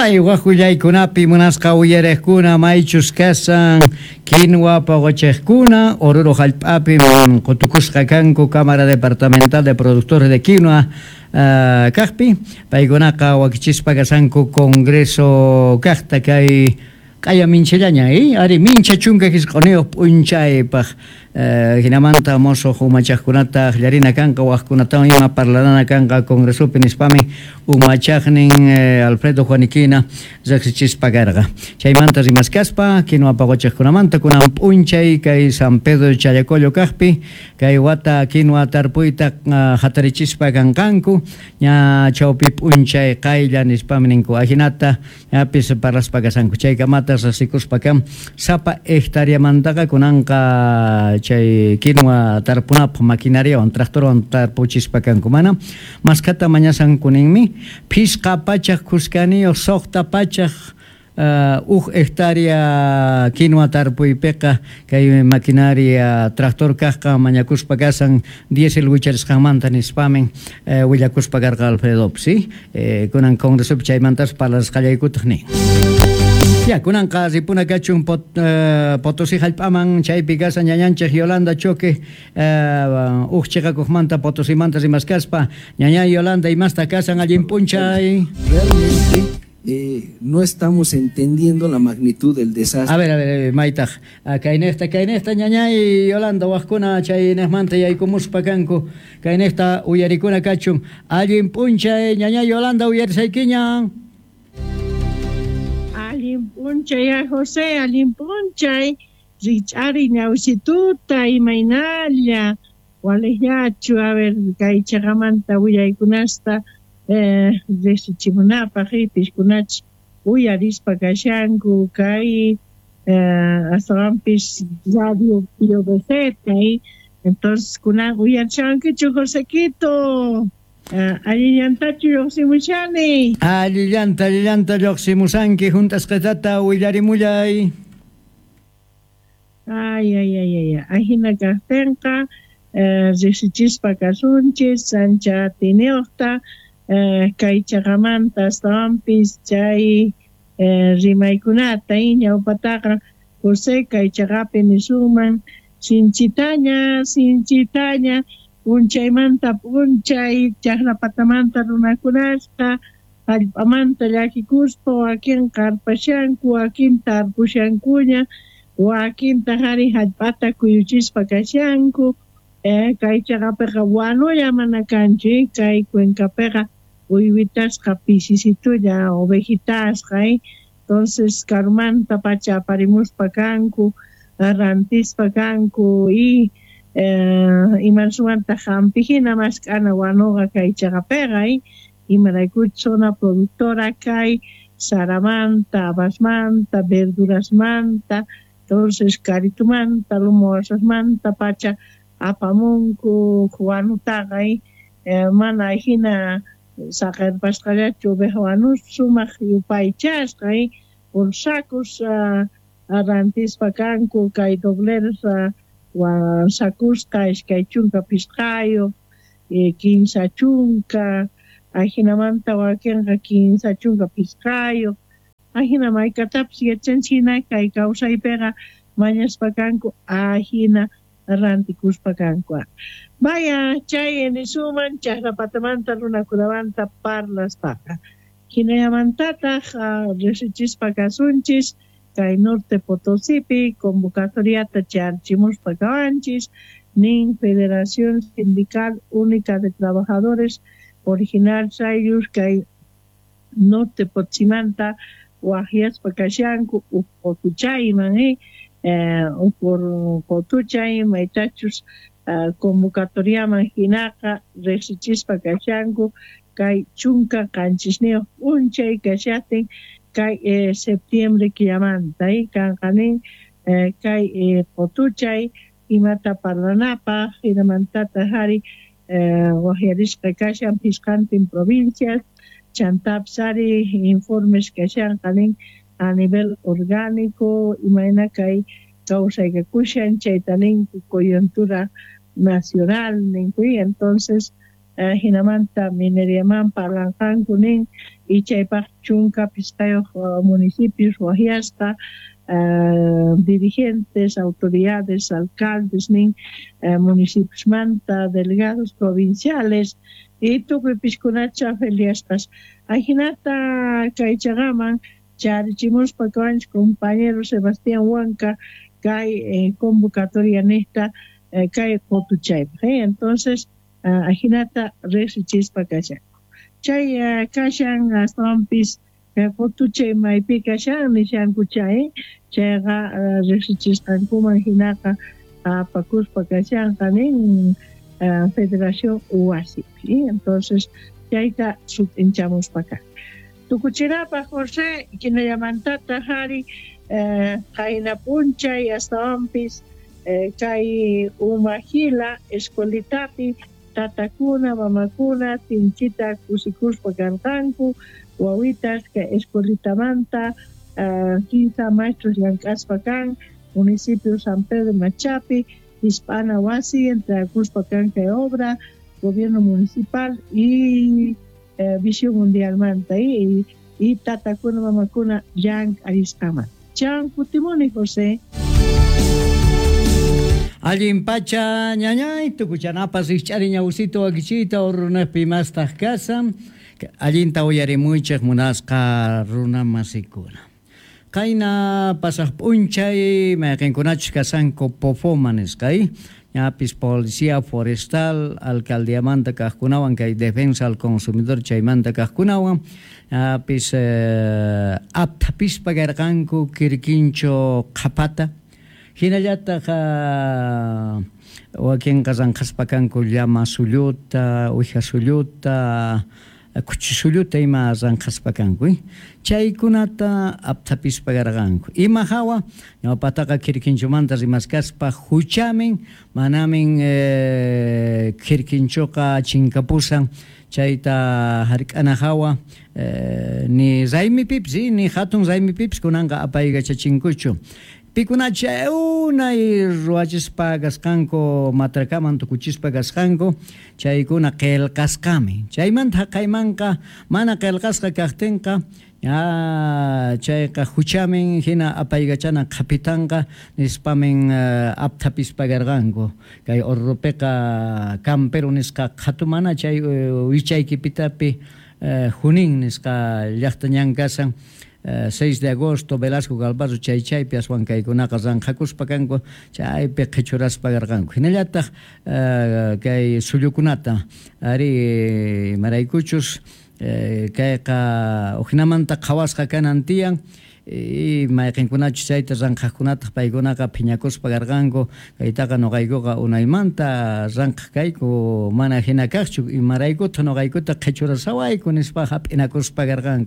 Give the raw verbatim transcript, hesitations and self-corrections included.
Kay waq willaykunapi munasqa uyariqkuna, maychus kasan quinua paqochiqkuna Oruro hallp'api qutukusqa kanku Cámara Departamental de Productores de Quinua uh, kaqpi. Paykunaqa wakichispa kasanku congreso kaqta kay q'aya minchallaña, eh? Ari, mincha chunka hisq'uniyuq p'unchaypaq, eh, hinamanta mosuq umachaqkunata akllarina kanqa, waqkunatawan ima parlarana kanqa congresopi nispami umachaqnin eh, Alfredo Juaniquina riqsichispa karqa. Chaymanta rimaskaspa quinua paqochiqkunamanta, kunan p'unchay kay San Pedro Challacollo kaqpi kay wata quinua tarpuyta uh, hatarichispa kanqanku ña chawpi p'unchay qaylla nispami ninku. Ajinata ñapis parlaspa kasanku. Chaykamata rasikuspa kan sapa hectareamantaqa kunanqa chay quinua tarpunapaq maquinariawan, tractorwan tarpuchispa kanku. Mana maskhata mañasanku ninmi, phisqa pachak kuskaniyuq suqta pachak uh, uj hectárea quinua tarpuypiqa kay maquinaria tractor kaqqa mañakuspa kasan diésel wicharisqanmanta nispamin uh, willakuspa karqa Alfredo, ¿sí? Eh, kunan congresopi chaymantas parlasqallaykutaq nin. Ya, kunanqa ripuna kachun pot, uh, Potosí hallp'aman, chaypi kasan ñañanchik Yolanda Choque, uh, uj chiqakuqmanta Potosimanta rimaskaspa. Ñaña Yolanda, imasta kasan? Allin p'unchay. Realmente eh, no estamos entendiendo la magnitud del desastre. A ver, a ver, maytaq kaynejta, kaynejta, ñañay Yolanda, waqkuna chaynejmanta yaykumuspa kanku, kaynejta uyarikuna kachun. Allin p'unchay, ñañay Yolanda, uyarisaykiña. Allin p'unchay, José, allin p'unchay, rich'ari ñawsituta, imaynalla, waliqllachu? A ver, kay chaqamanta willaykunasta eh, riqsichimunapaq, piskunach uyarispa kashanku kay eh, astawanpis radio P V Z. Entonces kunan uyarishankichu, Josequito? Uh, allillantachu lluqsimushani? Allillanta, allillanta lluqsimusanki, hunt'asqatata willarimullay. Ay, ay, ay, ay, ahina kaqtinqa eh, riqsichispa kasunchis ancha atiniyuqta eh, kay chaqamanta, astawanpis chay eh, rimaykunata. Ñawpataqa, José, kay chaqapi nisunman sinchitaña, sinchitaña p'unchaymanta p'unchay chaqrapatamanta runakunasqa hallp'amanta llakikuspa, wakin qarpashanku, wakin tarpushankuña, wakintaq ari hallp'ata kuyuchispa kashanku. eh, kay chaqapiqa wanulla mana kanchu. Kay cuencapiqa uywitasqa pisisitulla, ovejitasqa, eh? Entonces karumanta pacha aparimuspa kanku, rantispa kanku y eh, imansuwantaq hampihina mask'ana wanuqa kay chaqapiqa, eh? Imaraykuchus zona productora kay saramanta, habasmanta, verdurasmanta. Entonces Caritumanta, Lumo Huasasmanta pacha apamunku wanutaqa, eh? Mana hina saqerpasqallachu oveja wanus, sumaq yupaychasqa, eh? Por sacos uh, rantispa kanku kay dobleros uh, sakusqa iskay chunka pisqayuq, eh, kinsa chunka, ajinamanta wakinqa kinsa chunka pisqayuq. Ajina maykatapis yachanchik hina kay kawsaypiqa mañaspa kanku, ajina rantikuspa kanku. Vaya, chay nisuman chaqrapatamanta runakunamanta parlaspaqa. Hinallamantataq riqsichispa kasunchis kay Norte Potosipi convocatoriata charchimuspa kawanchis nin Federación Sindical Única de Trabajadores Original Sayus kay Norte Potosimanta waqyaspa kashanku uj qutuchayman, eh, eh, uj qutuchay maytachus uh, convocatoriaman hinaqa riqsichispa kashanku kay chunka qanchisniyuq p'unchay kashaqtin kay eh, septiembre killamanta, eh, kanqa nin eh, kay eh, qutuchay imata parlanapaq. Hinamantataq ari eh, waqyarisqa kashan phisqantin provincias, chantapis ari informes kashanqa nin a nivel orgánico imayna kay kawsaykakushan chayta ninku, coyuntura nacional ninku. Entonces eh, hinamanta mineriaman parlanqanku nin. Y chaypaq chunka pisqayuq municipios wajyasqa uh, dirigentes, autoridades, alcaldes nin uh, municipios manta, delegados provinciales y tukuy piskunacha feliaspas. Ajinata kay chaqaman charichimuspa kawanchik compañero Sebastián Huanca kay eh, convocatoria nesta eh, kay qotuchaypaq eh? Entonces uh, ajinata riqsichispa kashanku chay uh, kashan astawanpis qotuchay maypi kashan nishanku chay chayqa uh, riqsichisqankuman hinaqa apakuspa kashanqa nin uh, Federación Wasipi entonces chayta sut'inchamuspa kan. Tukuchinapaq José kinallamantata hari qayna p'unchay astawanpis kay Umajila escuelitapi tatakuna mamakuna sinchita kusikuspa karqanku wawitas kay escuelitamanta kinsa maestros llank'aspa kan municipio San Pedro Machapi Hispana wasi entregakuspa kan kay obra gobierno municipal y eh, Visión Mundialmanta y, y tatakuna mamakuna llank'arisqaman. Chan kutimuni José. Allin pacha ñañay tukuchanapas rikch'ari ñawsito wakichita urunaqpi mastaq kasan allinta uyarimuychik munasqa runa masikuna. Qayna pasaq p'unchay mayqinkunachus kasanku Pofoma nisqa ñapis policía forestal alcaldiamanta kaqkunawan kay defensa al consumidor chaymanta kaqkunawan ñapis eh, aptapispa karqanku kirkincho qhapata hinallataq wakinqa ranqaspa kanku llama sulluta uwiha sulluta kuchi sulluta ima ranqaspa kanku chaykunata aptapispa karqanku ima hawa ñawpataqa kirkinchumanta rimaskaspa huchamin manamin eh, kirkinchuqa chinkapusan chayta hark'ana hawa eh, ni raymipipis ni hatun raymipipis kunanqa apaykachachinkuchu pikunacha unay ruwachispa kasqanku matrakaman tukuchispa kasqanku chaykuna qillqasqami chaymanta haqaymanqa mana qillqasqa kaqtinqa ya chayqa huchamin hina apaykachana qhapitanqa nispamin uh, aptapispa karqanku kay Orrupiqa campero nisqa qhatumana chay uh, wichaykipitapi uh, Junín nisqa llaqta ñan kasan Uh, seis de agosto Velasco Galvarro chay chaypi aswan kaykunaqa ranqhakuspa kanku chaypi qhichuraspa karqanku hinallataq uh, kay sullukunata ari maraykuchus uh, kayqa ujinamanta qhawasqa kanan tiyan y mayqinkunachus chayta ranqhaqkunataq paykunaqa phiñakuspa karqanku kaytaqa nuqaykuqa unaymanta ranqhaq kayku mana hina kaqchu imaraykutaq nuqaykuta qhichurasawayku nispa hap'inakuspa karqanku.